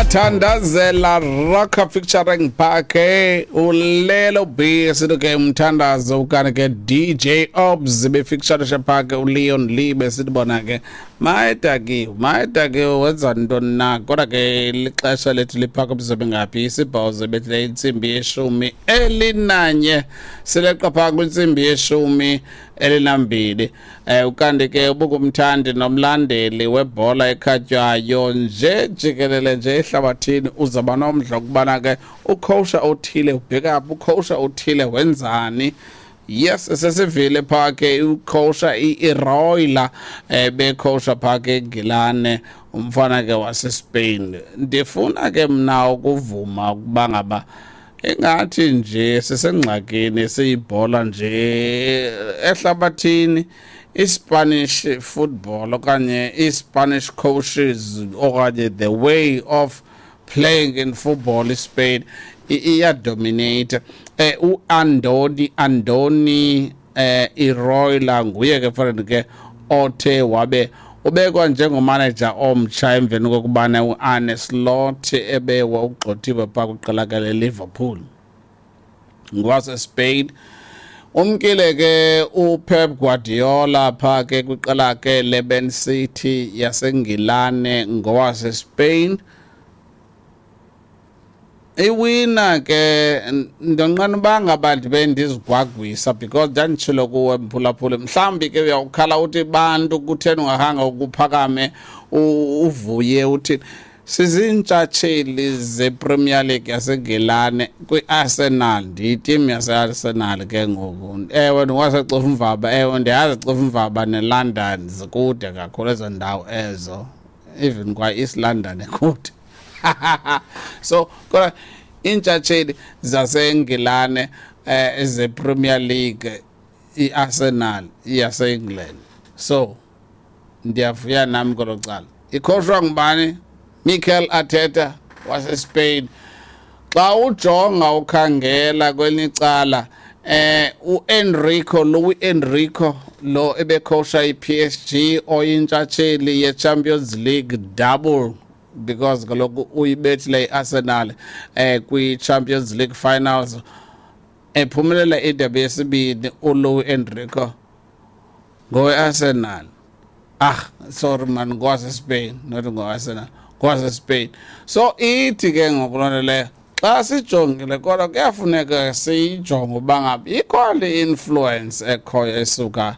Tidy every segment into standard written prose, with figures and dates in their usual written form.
Ndiyathandazela Rocker featuring Phake uLelo B, sithi ke umthandazo, ukani ke DJ Obs befeaturisha Phake uLeon Lee, besithi bona ke mayedakiwe, mayedakiwe, wenza ntoni na? Kodwa ke lixesha lethu liphaka mzobe ngaphi isibhozo bethileyo intsimbi ye-11, sileqa phaa kwintsimbi ye-12. Ukanti ke ubungumthandi nomlandeli webhola ekhatywayo nje jikelele nje ehlabathini, uzawuba nomdla ukubana ke ukhowusha othile ubheka phi, ukhowusha othile wenzani. Yes, sesivile phaa ke ukhowusha i-Iraola, bekhowusha phaa ke eNgilane, umfana ke waseSpain. Ndifuna ke mna ukuvuma ukuba ngaba ingathi nje sisengxakini siyibhola nje ehlabathini, iSpanish football okanye i-Spanish coaches okanye the way of playing in football, iSpain iyadominate. U-Andoni Andoni Iraola nguye ke fanele ke othe wabe ubekwa njengomanager omtsha emveni kokubana u-Arne Slot ebewa ugxothiwe phaa kwiqela ke leLiverpool, ngowasespain. Umkile ke uPep Guardiola phaa ke kwiqela ke leMan City yaseNgilane, ngowasespain. Iwina ke ndonqena uba ngaba ndibe ndizigwagwisa, because ndanditshilo kuwe mphulaphuli, mhlawumbi ke uyawukhala uthi bantu kutheni ungahanga ukuphakame uvuye uthi siziintshatsheli zePremier League yaseNgilane kwi-Arsenal. Ndiyitimu yase-Arsenal ke ngoku. Ewe, ndingwaseCofimvaba. Ewe, ndiyazi Cofimvaba neLondon zikude kakhulu ezo ndawo ezo, even kwa-East London ekude. So kodwa iintshatsheli zaseNgilane ze-Premier League, i-Arsenal yase-England, so ndiyavuya nami kwelo cala. Ikhoshwa ngubani? Mikel Arteta waseSpain. Xa ujonga ukhangela kwelinye icala, uEnrico Luis Enrico lo ebekhosha iPSG, oyintshatsheli yeChampions League double, because kaloku uyibethile iArsenal kwi-Champions League finals, ephumelela indebe yesibini uLuis Enrico ngowe-Arsenal. Ah, sorry man, ngowase-Spain, not ngowe-Arsenal, ngowase-Spain. So ithi ke ngoku loo nto leyo, xa sijongile kodwa kuyafuneka siyijonge uba ngaba ikhona i-influence ekhoyo esuka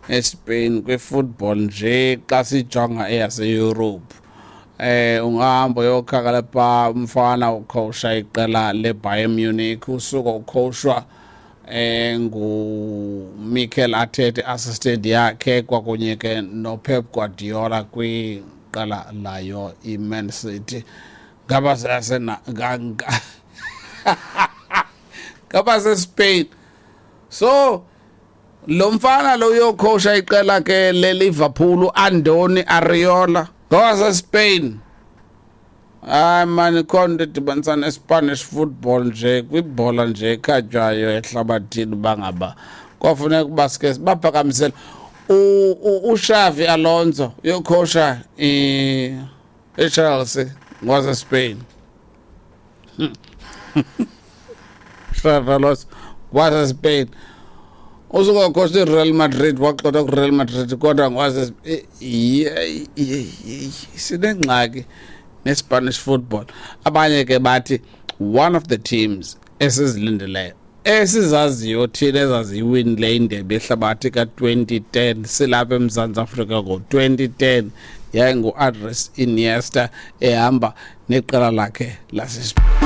eSpain kwi-football nje xa sijonga eyaseEurope. Ungahamba uyokhangela pha umfana ukhowusha iqela leBayern Munich, usuka ukhowushwa ngu Mikel Arteta, assistant yakhe, kwakunye ke noPep Guardiola kwiqela layo iMan City. Ngaba sasena ngaba seSpain. So lo mfana lo uyokhosha iqela ke leLiverpool, Andoni Iraola, ngowase-Spain. Hayi mani, ikhona into edibanisa ne-Spanish football nje kwibhola nje ekhatywayo ehlabathini, uba ngaba kwafuneka uba sike baphakamisele uXavi Alonso uyokhosha iChelsea, ngowase-Spain. Xavi Alonso ngowase-Spain, usuka khosha iReal Madrid, waxoxa kuReal Madrid, kodwa ngowase. Sinengxaki neSpanish football. Abanye ke bathi one of the teams esizilindeleyo, esizaziyo thina, ezaziyiwinile indebe yehlabathi ka-2010 silapha eMzantsi Afrika ngo-2010, yayingu-Andres Iniesta ehamba neqela lakhe laseSpain.